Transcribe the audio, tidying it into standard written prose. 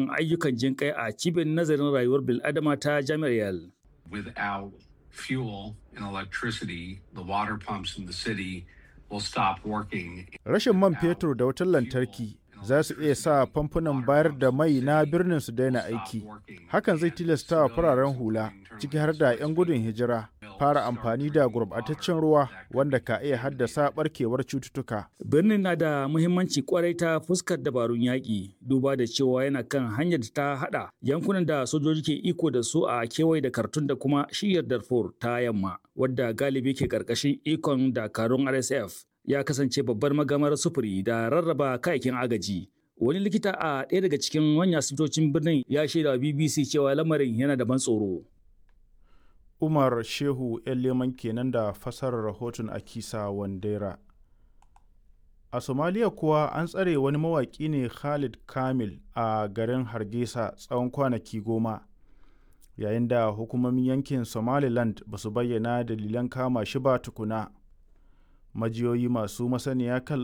ayyukan jinƙai a cibiyar nazarin rayuwar bil'adama ta Jami'ar Yale. Without fuel and electricity, the water pumps in the city will stop working. Rashin man fetur da wutar lantarki za su iya sa famfunan bayar da mai na birnin su daina aiki. Hakan zai tilasta wa fararen hula, ciki har da 'yan gudun hijira, fara amfani da gurbataccen ruwa wanda ka iya haddasa barkewar cututtuka. Birnin na da muhimmanci kwarai ta fuskar dabarun yaƙi, duba da cewa yana kan hanyar da ta haɗa yankunan da sojoji ke iko da su a kewaye da Khartoum da kuma shiyar Darfur ta yamma, wadda galibi ke ƙarƙashin ikon dakarun RSF. Ya kasance babbar magamar sufuri da rarraba kayayyakin agaji. Wani likita a ɗaya daga cikin manyan asibitocin birnin ya shaida wa BBC cewa lamarin yana da ban tsoro. Umar Shehu ‘yan leman kenan da fasarar rahoton Akisa Wandera. A Somaliya kuwa an tsare wani mawaƙi ne Khalid Kamil a garin Hargeisa tsawon kwanaki 10, yayin da hukumomin yankin Somaliland ba su bayyana dalilan kama shi ba tukuna. Majiyoyi masu masaniya kan lamarin